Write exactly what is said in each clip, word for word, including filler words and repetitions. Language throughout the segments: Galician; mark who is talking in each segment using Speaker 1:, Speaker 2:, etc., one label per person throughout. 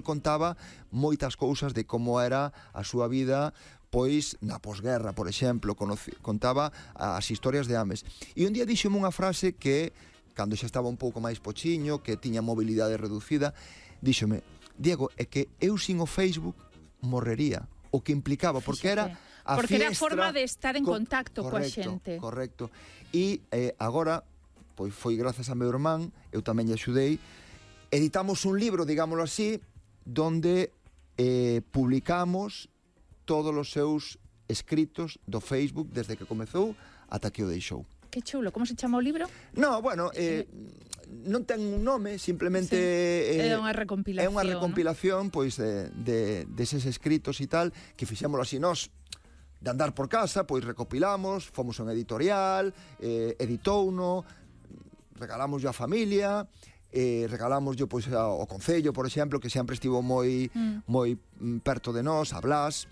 Speaker 1: contaba moitas cousas de como era a súa vida pois na posguerra, por exemplo, conoci, contaba as historias de Ames. E un día díxome unha frase que, cando xa estaba un pouco máis pochiño, que tiña mobilidade reducida, díxome: Diego, é que eu sin o Facebook morrería, o que implicaba, porque era a
Speaker 2: porque
Speaker 1: fiestra,
Speaker 2: era a forma de estar en
Speaker 1: co
Speaker 2: contacto
Speaker 1: correcto,
Speaker 2: coa xente.
Speaker 1: Correcto. E eh, agora, pois foi grazas a meu irmán, eu tamén lle axudei, editamos un libro, digámoslo así, donde eh, publicamos todos os seus escritos do Facebook desde que comezou ata que o deixou.
Speaker 2: Que chulo, como se chama o libro?
Speaker 1: No, bueno, eh, non ten un nome, simplemente
Speaker 2: sí.
Speaker 1: eh,
Speaker 2: é unha recompilación,
Speaker 1: é unha recompilación, ¿no? Pois de, de deses escritos e tal, que fixémoslo así nós, de andar por casa, pois recopilamos, fomos a un editorial, eh, editouno, regalamos a familia, eh, regalamos yo pois ao Concello, por exemplo, que sempre estivo moi mm. moi perto de nós, a Blas.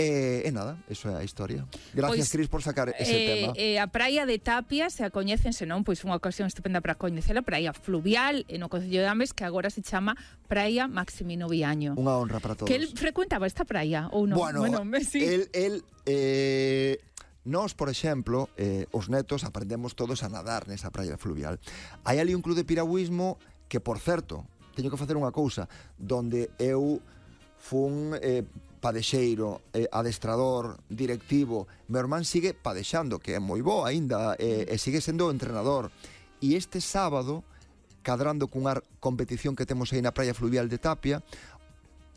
Speaker 1: E, e nada, eso é a historia. Gracias, pois, Cris, por sacar ese
Speaker 2: eh,
Speaker 1: tema.
Speaker 2: Eh, a praia de Tapia, se a coñecense, non? Pois unha ocasión estupenda para coñecela, praia fluvial no Concello de Ames, que agora se chama Praia Maximino Viaño.
Speaker 1: Unha honra para todos.
Speaker 2: Que el frecuentaba esta praia ou non?
Speaker 1: Bueno, bueno sí. el, el eh, nós, por exemplo, eh, os netos aprendemos todos a nadar nesa praia fluvial. Hai ali un club de piragüismo que, por certo, teño que facer unha cousa, donde eu fun eh, padexeiro, eh, adestrador, directivo. Meu irmán sigue padexando, que é moi bo aínda, eh, e sigue sendo o entrenador. E este sábado, cadrando cunha competición que temos aí na praia fluvial de Tapia,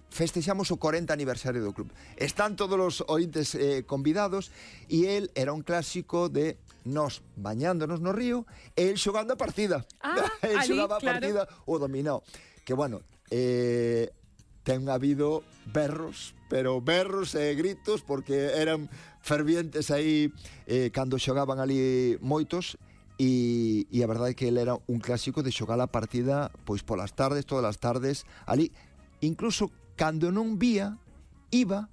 Speaker 1: festexamos o corenta aniversario do club. Están todos os ointes eh, convidados, e el era un clásico de nós bañándonos no río e el xogando a partida.
Speaker 2: Ah,
Speaker 1: el
Speaker 2: ali,
Speaker 1: xogaba a
Speaker 2: claro.
Speaker 1: partida o dominado. Que bueno, eh, ten habido berros, pero berros e gritos, porque eran fervientes aí eh, cando xogaban ali moitos, e, e a verdade é que ele era un clásico de xogar a partida pois polas tardes, todas as tardes ali, incluso cando non vía, iba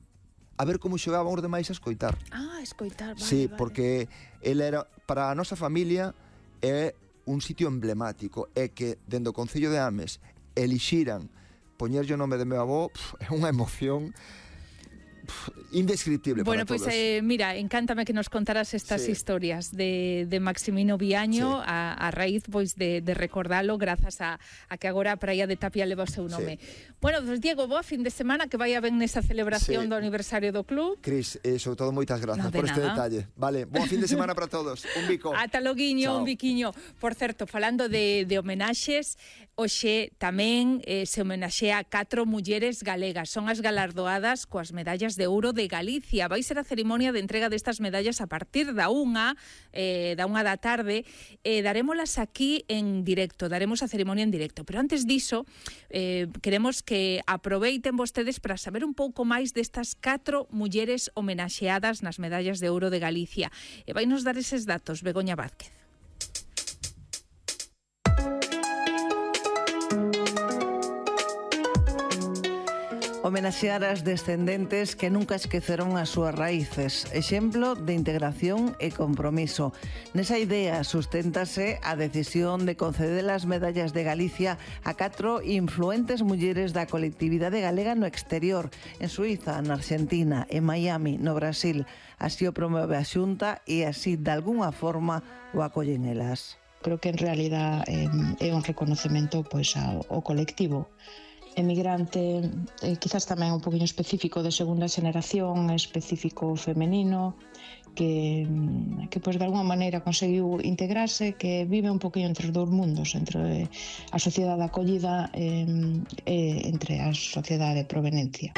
Speaker 1: a ver como xogaban os demais a escoitar.
Speaker 2: Ah, a escoitar, vale,
Speaker 1: sí,
Speaker 2: vale.
Speaker 1: Porque ele era, para a nosa familia, é un sitio emblemático, é que dende o Concello de Ames elixiran poñerlle o nome de meu avó, pf, é unha emoción pf, indescriptible
Speaker 2: bueno,
Speaker 1: para
Speaker 2: pues,
Speaker 1: todos.
Speaker 2: Bueno, eh, mira, encántame que nos contaras estas sí. historias de, de Maximino Viaño sí. a, a raíz pois, de, de recordalo grazas a, a que agora a praia de Tapia leva o seu nome. Sí. Bueno, pues, Diego, boa fin de semana, que vaya ben nesa celebración sí. do aniversario do club.
Speaker 1: Cris, eh, sobre todo moitas grazas
Speaker 2: no,
Speaker 1: por
Speaker 2: nada.
Speaker 1: este detalle. Vale, boa fin de semana para todos. Un bico.
Speaker 2: Ata loguiño, un biquiño. Por certo, falando de, de homenaxes, hoxe tamén eh, se homenaxea a catro mulleres galegas. Son as galardoadas coas medallas de ouro de Galicia. Vai ser a cerimonia de entrega destas medallas a partir da unha, eh, da unha da tarde. Eh, darémolas aquí en directo, daremos a cerimonia en directo. Pero antes diso, eh, queremos que aproveiten vostedes para saber un pouco máis destas catro mulleres homenaxeadas nas medallas de ouro de Galicia. E vai nos dar eses datos, Begoña Vázquez.
Speaker 3: Homenaxear as descendentes que nunca esqueceron as súas raíces. Exemplo de integración e compromiso. Nesa idea susténtase a decisión de conceder as medallas de Galicia a catro influentes mulleres da colectividade galega no exterior, en Suiza, na Argentina, en Miami, no Brasil. Así o promove a Xunta e así, de algunha forma, o acollen elas.
Speaker 4: Creo que en realidad eh, é un reconocemento pois, ao, ao colectivo emigrante, eh, quizás tamén un poquinho específico de segunda xeneración, específico femenino, que, que pois, de alguma maneira conseguiu integrarse, que vive un poquinho entre os dous mundos, entre a sociedade acollida e, e entre a sociedade de provenencia.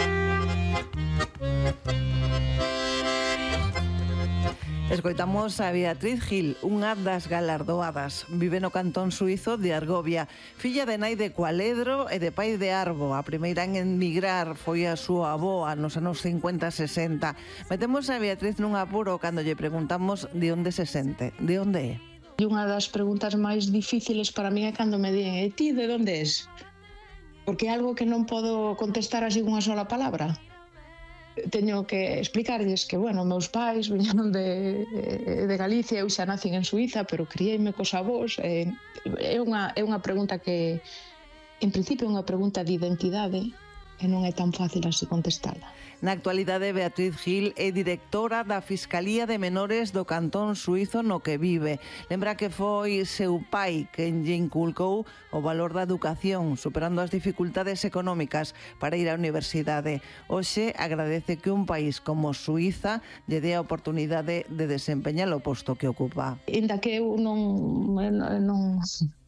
Speaker 3: Escoitamos a Beatriz Gil, unha das galardoadas. Vive no cantón suizo de Argovia. Filla de nai de Cualedro e de pai de Arbo. A primeira en emigrar foi a súa avoa nos anos cincuenta e sesenta. Metemos a Beatriz nun apuro cando lle preguntamos de onde se sente, de onde é.
Speaker 4: E unha das preguntas máis difíciles para mí é cando me din, e ti de onde és? Porque é algo que non podo contestar así unha sola palabra. Teño que explicarlles que, bueno, meus pais viñeron de, de Galicia, eu xa nacín en Suiza, pero criei-me cos avós. É unha, é unha pregunta que, en principio, é unha pregunta de identidade, e non é tan fácil así contestala.
Speaker 3: Na actualidade, Beatriz Gil é directora da Fiscalía de Menores do Cantón Suízo no que vive. Lembra que foi seu pai quen lle inculcou o valor da educación, superando as dificultades económicas para ir á universidade. Hoxe agradece que un país como Suíza lle dé a oportunidade de desempeñar o posto que ocupa.
Speaker 4: Ainda que eu non... non...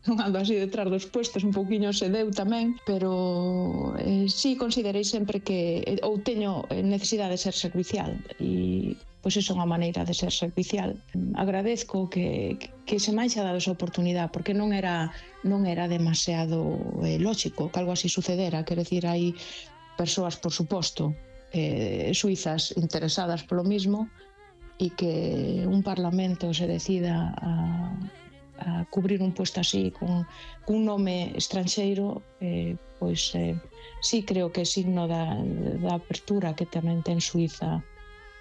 Speaker 4: non ando así detrás dos puestos, un pouquiño se deu tamén, pero eh, sí considerei sempre que ou teño necesidade de ser servicial e pois iso é unha maneira de ser servicial. Agradezco que, que se me haixa dado esa oportunidade porque non era non era demasiado eh, lógico que algo así sucedera, quero dicir, hai persoas, por suposto, eh, suizas interesadas polo mismo e que un parlamento se decida a a cubrir un puesto así con, con un nome estranxeiro, eh, pois eh, sí creo que é signo da, da apertura que tamén ten Suíza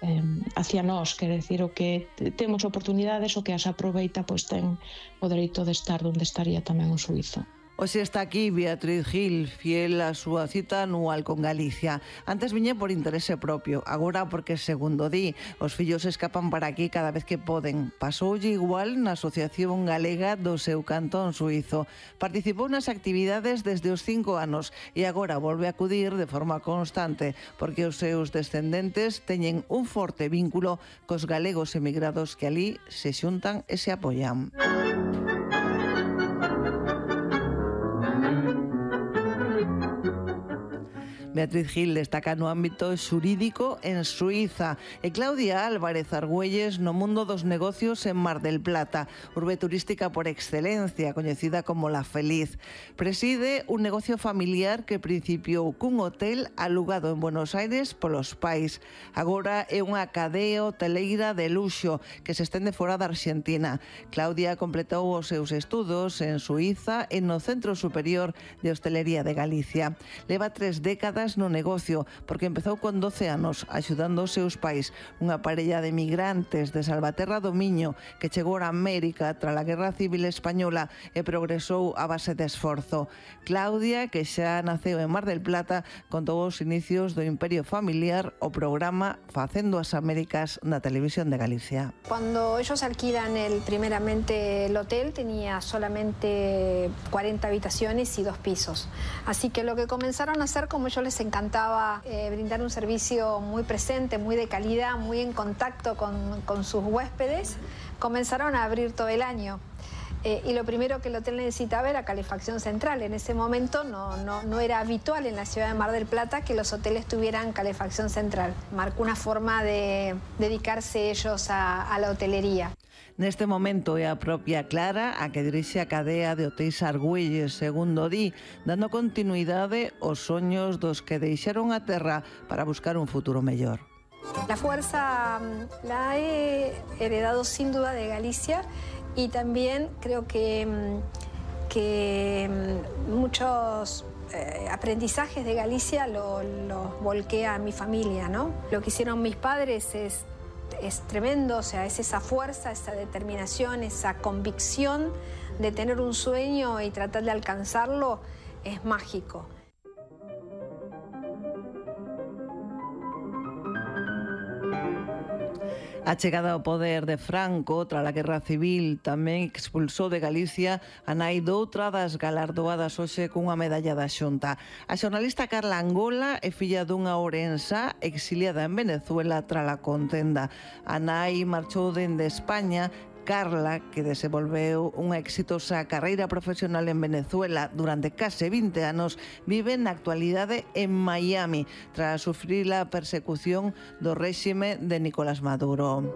Speaker 4: eh, hacia nós, quer decir, o que temos oportunidades, o que as aproveita, pois ten o dereito de estar onde estaría tamén o suízo.
Speaker 3: Hoxe está aquí Beatriz Gil, fiel a súa cita anual con Galicia. Antes viñe por interese propio, agora porque, segundo di, os fillos escapan para aquí cada vez que poden. Pasoulle igual na Asociación Galega do seu cantón suízo. Participou nas actividades desde os cinco anos e agora volve a acudir de forma constante porque os seus descendentes teñen un forte vínculo cos galegos emigrados que alí se xuntan e se apoian. Beatriz Gil destaca no ámbito xurídico en Suíza e Claudia Álvarez Argüelles no mundo dos negocios en Mar del Plata, urbe turística por excelencia, coñecida como La Feliz. Preside un negocio familiar que principiou cun hotel alugado en Buenos Aires polos pais. Agora é unha cadea hoteleira de luxo que se estende fora da Argentina. Claudia completou os seus estudos en Suíza e no Centro Superior de Hostelería de Galicia. Leva tres décadas no negocio, porque empezou con doce anos axudando os seus pais, unha parella de migrantes de Salvaterra do Miño que chegou a América tras a Guerra Civil Española e progresou a base de esforzo. Claudia, que xa naceu en Mar del Plata, contou os inicios do imperio familiar o programa Facendo as Américas na Televisión de Galicia.
Speaker 5: Cuando ellos alquilan el, primeramente el hotel, tenía solamente cuarenta habitaciones y dos pisos. Así que lo que comenzaron a hacer, como yo les encantaba eh, brindar un servicio muy presente, muy de calidad, muy en contacto con, con sus huéspedes, comenzaron a abrir todo el año. Eh, y lo primero que el hotel necesitaba era calefacción central. En ese momento no, no, no era habitual en la ciudad de Mar del Plata que los hoteles tuvieran calefacción central. Marcó una forma de dedicarse ellos a, a la hotelería.
Speaker 3: Neste momento é a propia Clara a que dirixe a cadea de hotéis Argüelles, segundo di, dando continuidade aos soños dos que deixaron a terra para buscar un futuro mellor.
Speaker 5: La fuerza la he heredado sin duda de Galicia y también creo que, que muchos eh, aprendizajes de Galicia los lo volqué a mi familia, ¿no? Lo que hicieron mis padres es es tremendo, o sea, es esa fuerza, esa determinación, esa convicción de tener un sueño y tratar de alcanzarlo, es mágico.
Speaker 3: A chegada ao poder de Franco tras a Guerra Civil tamén expulsou de Galicia a nai doutra das galardoadas hoxe cunha medalla da Xunta. A xornalista Carla Angola é filla dunha ourensa exiliada en Venezuela tras a contenda. A nai marchou dende España. Carla, que desenvolveu unha exitosa carreira profesional en Venezuela durante case vinte anos, vive na actualidade en Miami tras sufrir a persecución do réxime de Nicolás Maduro.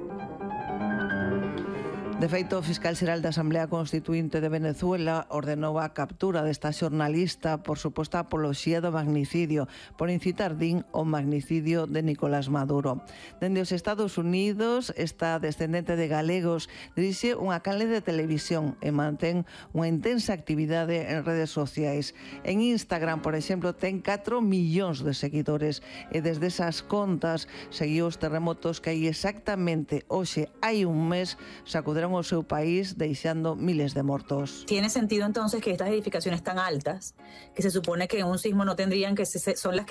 Speaker 3: De feito, o fiscal xeral da Asamblea Constituinte de Venezuela ordenou a captura desta xornalista por suposta apoloxía do magnicidio, por incitar, din, o magnicidio de Nicolás Maduro. Dende os Estados Unidos, esta descendente de galegos dirixe unha canle de televisión e mantén unha intensa actividade en redes sociais. En Instagram, por exemplo, ten catro millóns de seguidores e desde esas contas seguiu os terremotos que hai exactamente hoxe hai un mes sacuderon o seu país deixando miles de mortos.
Speaker 6: Tiene sentido entonces que estas edificaciones tan altas, que se supone que en un sismo no tendrían, que se, son las que